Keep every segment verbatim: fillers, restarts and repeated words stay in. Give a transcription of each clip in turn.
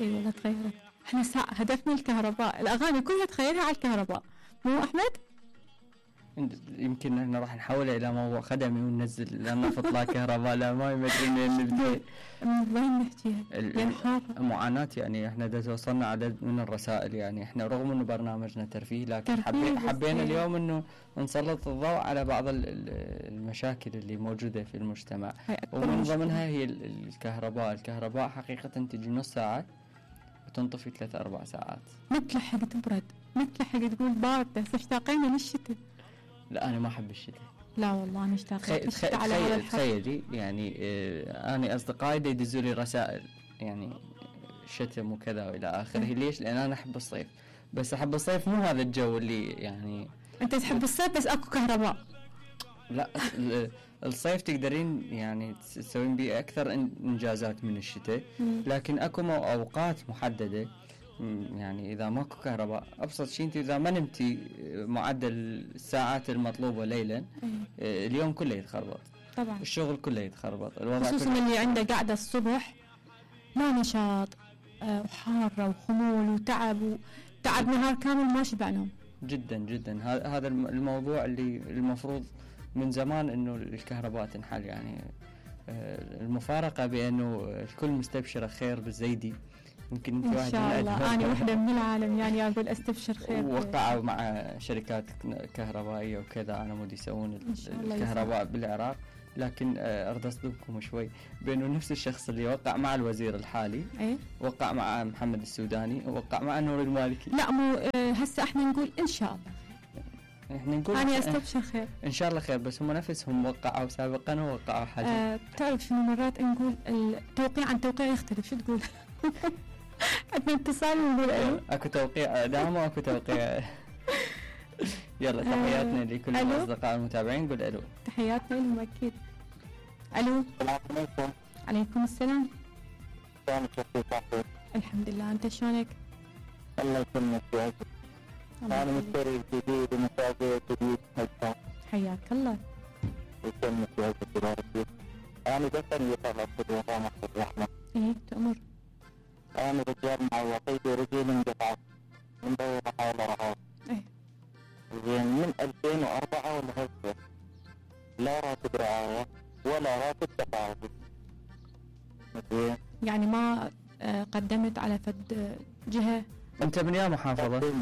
اي والله تغيرت. احنا ساعة هدفنا الكهرباء، الاغاني كلها تخيلها على الكهرباء، مو احمد؟ يمكن احنا راح نحولها الى موضوع خدمي وننزل لما تطلع كهرباء لا ما يمدري منين نبدا. وين نحكيها؟ معاناة يعني احنا دا توصلنا عدد من الرسائل، يعني احنا رغم انه برنامجنا ترفيه لكن ترفيه حبي حبينا إيه. اليوم انه نسلط الضوء على بعض المشاكل اللي موجودة في المجتمع، ومن ضمنها هي الكهرباء. الكهرباء حقيقة تجي نص ساعة وتنطفي ثلاث اربع ساعات. ما تلحق تبرد، ما تلحق تقول باردة، هسه اشتاقين للشتاء. لا انا ما احب الشتاء. لا والله انا اشتاقت للشتاء على هذا الحد. تخيلي يعني اه انا اصدقائي دا يدزوا لي رسائل يعني شتم وكذا والى اخره. ليش؟ لان انا احب الصيف، بس احب الصيف مو هذا الجو اللي يعني انت تحب الصيف بس اكو كهرباء. لا الصيف تقدرين يعني تسوين بيه اكثر انجازات من الشتاء، لكن اكو اوقات محدده يعني اذا ماكو كهرباء ابسط شيء انت اذا ما نمتي معدل الساعات المطلوبه ليلا اليوم كله يتخربط طبعا، الشغل كله يتخربط، الوضع خصوصا كله اللي عنده قاعده الصبح لا نشاط وحاره وخمول وتعب وتعب نهار كامل ما شبع نوم. جدا جدا هذا الموضوع اللي المفروض من زمان انه الكهرباء تنحل. يعني المفارقه بانه الكل مستبشر خير بالزيدي، يمكن انت واحد ان شاء الله انا واحده من العالم يعني اقول استبشر خير. وقعوا مع شركات كهربائيه وكذا على مود يسوون الكهرباء بالعراق، لكن اريد اصدمكم شوي بانه نفس الشخص اللي وقع مع الوزير الحالي ايه؟ وقع مع محمد السوداني ووقع مع نور المالكي. لا مو هسه احنا نقول ان شاء الله احنا نقول انا استبشر خير ان شاء الله خير، بس هم نفسهم وقعوا سابقا ووقعوا حاجه. أه تعرف شنو مرات نقول التوقيع عن توقيع يختلف، شو تقول؟ عندنا اتصال ونقول الو. اكو توقيع اعدام واكو توقيع. يلا تحياتنا لكل الاصدقاء المتابعين، قول الو. تحياتنا لهم اكيد. الو. السلام عليكم. عليكم السلام. شلونك اخوي؟ الحمد لله، انت شلونك؟ الله يسلمك ويعزك. انا مشتري جديد ومتابع جديد هسه. حياك الله. يسلمك ويعزك ويبارك فيك. انا بس اللي طلبت بالوطن الرحمه. ايه تأمر. انا رجال معوقي ورجلي انقطعت من دورة حول رهاب. ايه. زين من ألفين وأربعة ولهسه لا راتب رعاية ولا راتب تقاعد. زين. يعني ما قدمت على فد جهة؟ انت من يا محافظة؟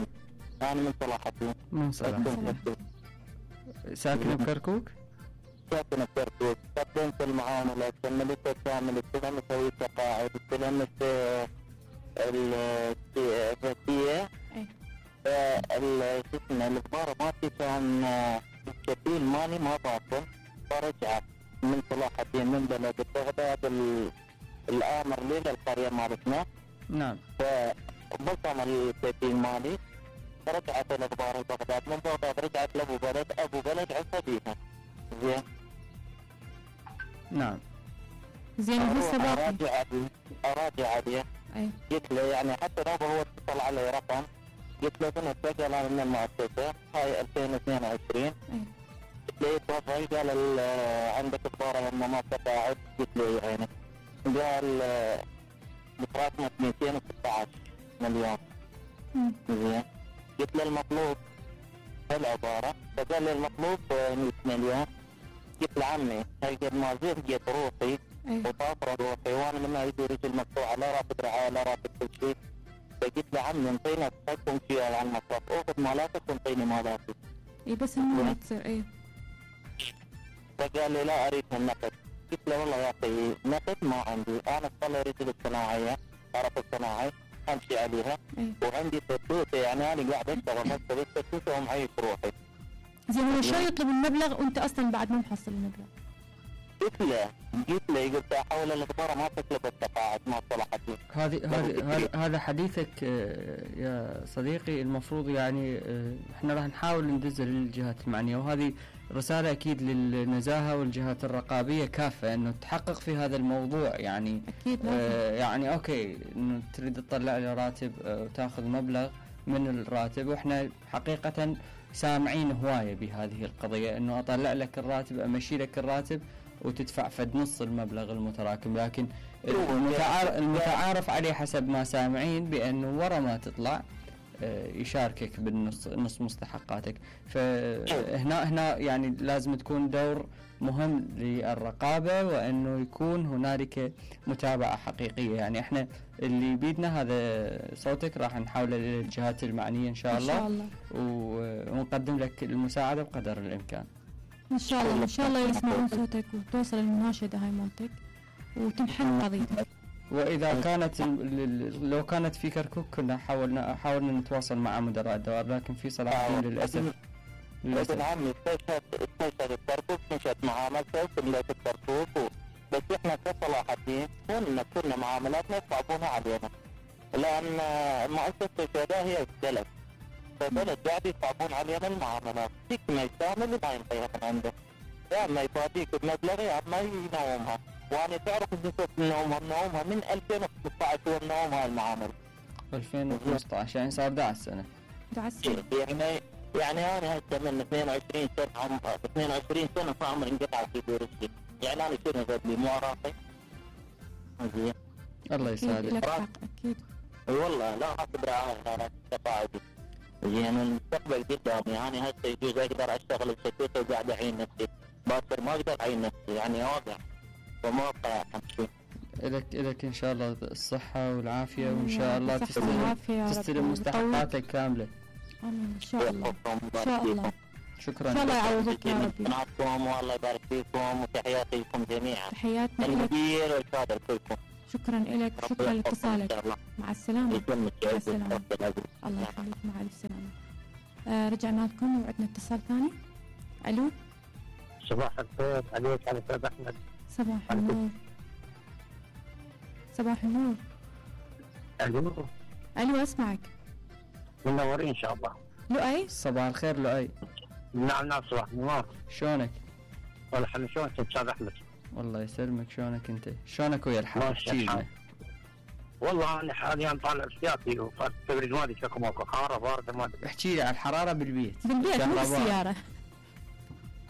انا من صلاح الدين. من صلاح الدين. ساكن بكركوك؟ ساكن بكركوك. قدمت المعاملة، استلمت كامل، استلمت مسوي تقاعد، استلمت الرسية. شو اسمه الإخبار مالتي كان الكفيل مالي ما باطل، فرجعت من صلاح الدين من بلد بغداد الآمر لي للقرية مالتنا. نعم. فبصم الكفيل مالي، فرجعت الإخبار لبغداد، من بغداد رجعت لأبو بلد، أبو بلد عصى بيها. زين. نعم. زين هسه باقي. أراجع عليه، أراجع عليه. أي. قلت له يعني حتى لو هو اتصل علي رقم، قلت له انا اتسجل انا من المؤسسه هاي ألفين واثنين وعشرين. اي. قلت له تفضل، قال عندك اخبار لما ما تقاعد؟ قلت له يعني قال متراكمه مئتين وستة عشر مليون. زين. قلت له المطلوب هالعباره، فقال لي المطلوب مئة مليون. قلت له عمي هاي قد ما زهقت روحي وطافره روحي وانا من ايدي رجل مقطوعه، لا راتب رعايه لا راتب كل شيء. فقلت له عمي انطينا تحكم فيها على المصرف، اخذ مالاتك وانطيني مالاتي. اي بس انه ما تصير. اي. فقال لي لا اريد النقد. قلت له والله يا اخي نقد ما عندي، انا اصلي رجل الصناعيه، عرف الصناعي امشي عليها. أي. وعندي فتوته، يعني انا قاعد اشتغل هسه بالفتوته ومعيش روحي. زين هو شو يطلب المبلغ وانت اصلا بعد ما محصل المبلغ؟ قلت له قلت له قلت احاول الاخبار ما تطلب التقاعد ما صلح الدين. هذه هذا هذا حديثك يا صديقي. المفروض يعني احنا راح نحاول ندز للجهات المعنيه، وهذه رساله اكيد للنزاهه والجهات الرقابيه كافه انه تحقق في هذا الموضوع. يعني اكيد آه يعني اوكي انه تريد تطلع لي راتب وتاخذ مبلغ من الراتب، واحنا حقيقه سامعين هوايه بهذه القضيه انه اطلع لك الراتب امشي لك الراتب وتدفع فد نص المبلغ المتراكم، لكن المتعارف, المتعارف عليه حسب ما سامعين بأنه ورا ما تطلع يشاركك بالنص نص مستحقاتك. فهنا هنا يعني لازم تكون دور مهم للرقابة، وأنه يكون هنالك متابعة حقيقية. يعني احنا اللي بيدنا هذا صوتك راح نحوله للجهات المعنية إن شاء الله, إن شاء الله. ونقدم لك المساعدة بقدر الإمكان إن شاء الله. إن شاء الله يسمعون صوتك وتوصل المناشدة هاي مالتك وتنحل قضيتك. وإذا كانت لو كانت في كركوك كنا حاولنا حاولنا نتواصل مع مدراء الدوائر، لكن في صلاح الدين للأسف للأسف ابن عمي استشهد استشهد الكركوك، مشت معاملته وكملت الكركوك، بس احنا كصلاح الدين كنا كنا معاملاتنا يصعبونها علينا، لأن مؤسسة الشهداء هي الدلت، فالدلت قاعد يصعبون علينا المعاملات، فيك ما يستعمل وما ينطيها من عنده، يا اما يفاديك بمبلغ يا اما ينومها. وانا تعرف نسبة نومها نومها من ألفين وخمسة عشر والنوم هاي المعاملة ألفين وخمسة عشر يعني صار أحد عشر سنة. أحد عشر سنة يعني يعني انا هسه من اثنين وعشرين سنة عم اثنين وعشرين سنة فعمري انقطع في دورتي، يعني انا شنو غدلي مو راسي. زين الله يسعدك. اكيد والله لا اعتبر انا تقاعدي. زين المستقبل قدامي، يعني هسه يجوز اقدر اشتغل بسكوته وقاعد اعين نفسي، باكر ما اقدر اعين نفسي يعني واقع وموقع امشي. لك لك ان شاء الله الصحة والعافية، وان شاء الله تستلم تستلم مستحقاتك كاملة. امين ان شاء الله ان شاء الله. شكرا. ان شاء الله يعوضك يا ربي. معكم والله يبارك فيكم، وتحياتي لكم جميعا. تحياتنا لك. المدير والكادر كلكم. شكرا لك، شكرا لاتصالك. مع السلامة. مع السلامة. الله يخليك، مع الف سلامة. آه رجعنا لكم وعندنا اتصال ثاني. الو. صباح الخير عليك على استاذ احمد. صباح النور. صباح النور. الو. الو اسمعك. منورين ان شاء الله. لؤي. صباح الخير لؤي. نعم نعم صباح النور. شلونك؟ والله حنا شلونك استاذ احمد؟ والله يسلمك، شلونك انت؟ شلونك ويا الحال؟ احكي لنا. والله انا حاليا طالع احتياطي وفات التبريد مالي شكو ماكو، حاره بارده ما ادري. احكي لي على الحراره بالبيت. بالبيت مو بالسياره.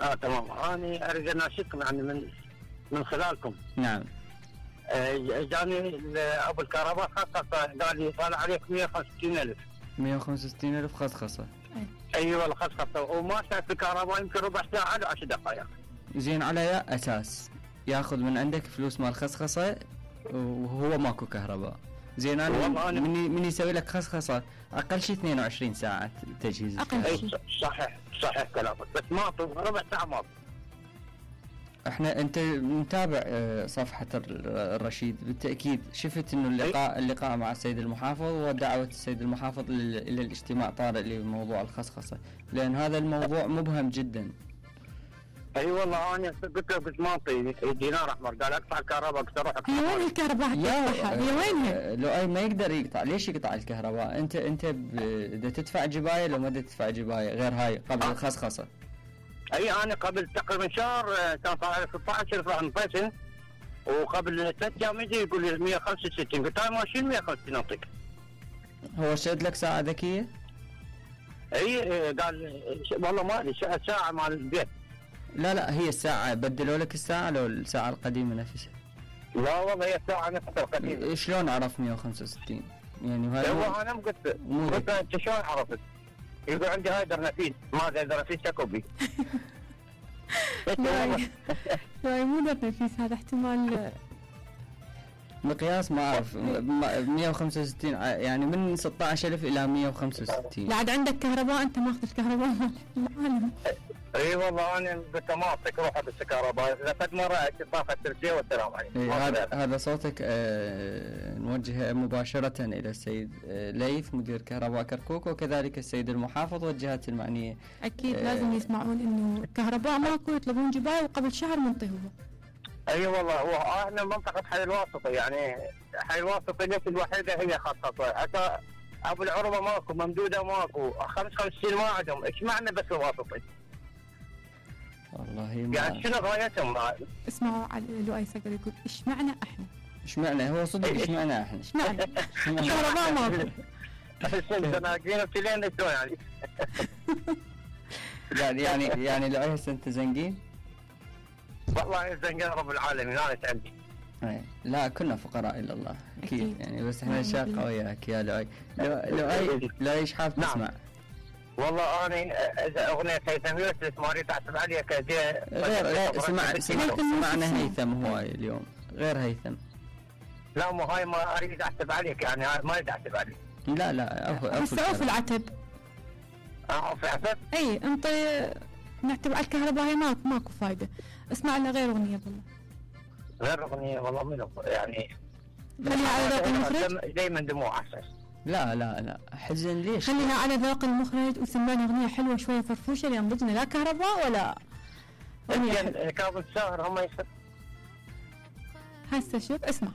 اه تمام. انا اريد اناشدكم يعني من من خلالكم. نعم. آه جاني ابو الكهرباء خصخصه، قال لي طالع عليك مئة وخمسة وستين ألف. مئة وخمسة وستين ألف خصخصه. ايوه الخصخصه، وما شاف الكهرباء يمكن ربع ساعه ل عشر دقائق. زين على يا اساس ياخذ من عندك فلوس مال خصخصه وهو ماكو كهرباء. زين انا مني مني يسوي لك خصخصه اقل شيء اثنين وعشرين ساعه تجهيز. اقل شيء. صحيح صحيح كلامك، بس ما ربع ساعه ما. احنا انت متابع صفحه الرشيد بالتاكيد، شفت انه اللقاء اللقاء مع السيد المحافظ ودعوه السيد المحافظ الى الاجتماع طارئ لموضوع الخصخصه، لان هذا الموضوع مبهم جدا. اي أيوة والله انا قلت له قلت ما اعطيني دينار احمر، قال اقطع الكهرباء، قلت اروح هي وين الكهرباء؟ هي وينها؟ لو اي ما يقدر يقطع، ليش يقطع الكهرباء؟ انت انت اذا تدفع جبايه لو ما تدفع جبايه غير هاي قبل أه؟ الخصخصه. اي انا قبل تقريبا شهر كان طالع ستة عشر راح نطيسن، وقبل ثلاث ايام يجي يقول لي مئة وخمسة وستين، قلت له ماشي مئة وخمسة وستين اعطيك. هو شد لك ساعه ذكيه؟ اي قال والله ما ادري ساعه مال البيت. لا لا هي الساعة بدلوا لك الساعة لو الساعة القديمة نفسها؟ لا والله هي الساعة نفسها القديمة. شلون عرف مئة وخمسة وستين؟ يعني هذا هو انا قلت قلت انت شلون عرفت؟ يقول عندي هايدر نفيس، ما هايدر نفيس شكو بي. لا لا مو در نفيس، هذا احتمال مقياس ما اعرف. مئة وخمسة وستين يعني من ستة عشر ألف الى مئة وخمسة وستين. لا عاد عندك كهرباء، انت ماخذ الكهرباء مال العالم. اي والله انا قلت ما اعطيك روح بالكهرباء، لقد مره طاقه التركيه والسلام عليكم. إيه هذا هذا صوتك. آه نوجهه مباشره الى السيد آه ليث مدير كهرباء كركوك، وكذلك السيد المحافظ والجهات المعنيه. اكيد آه لازم يسمعون انه الكهرباء ماكو، يطلبون جبايه وقبل شهر منطيهم. اي أيوة والله هو احنا منطقه حي الواسطه، يعني حي الواسطه ليش الوحيده هي خاصه، حتى ابو العربه ماكو، ممدوده ماكو، خمسة وخمسين ما عندهم، ايش معنى بس الواسطي؟ والله ما يعني شنو غايتهم؟ اسمعوا على لؤي صقر يقول ايش معنى احنا؟ ايش معنى؟ هو صدق ايش معنى احنا؟ ايش معنى؟ الكهرباء ماكو. زناقين وتلين شلون يعني؟ يعني يعني يعني لؤي هسه انت زنقين؟ والله زين رب العالمين انا عندي. اي لا كنا فقراء الى الله اكيد, أكيد. يعني بس احنا شاقه وياك يا لؤي. لو لؤي لؤي ايش حاب تسمع؟ نعم. والله انا اذا اغنيه هيثم يوسف ما اريد احسب عليك غير غير سمع سمع سمعنا هيثم هو اليوم غير هيثم. لا مو هاي ما اريد احسب عليك يعني ما اريد احسب عليك. لا لا عفوا بس عوف العتب. عوف العتب؟ اي انت نعتب على الكهرباء هي ماكو ماكو فايده. اسمع لنا غير اغنيه والله. غير اغنيه والله منو يعني خليها على ذوق المخرج. دائما دموع احسن. لا لا لا حزن ليش؟ خليها على ذوق المخرج وسمعنا اغنيه حلوه شويه فرفوشه لان ضدنا لا كهرباء ولا اغنيه كاظم الساهر هم يسمعون. هسه شوف اسمع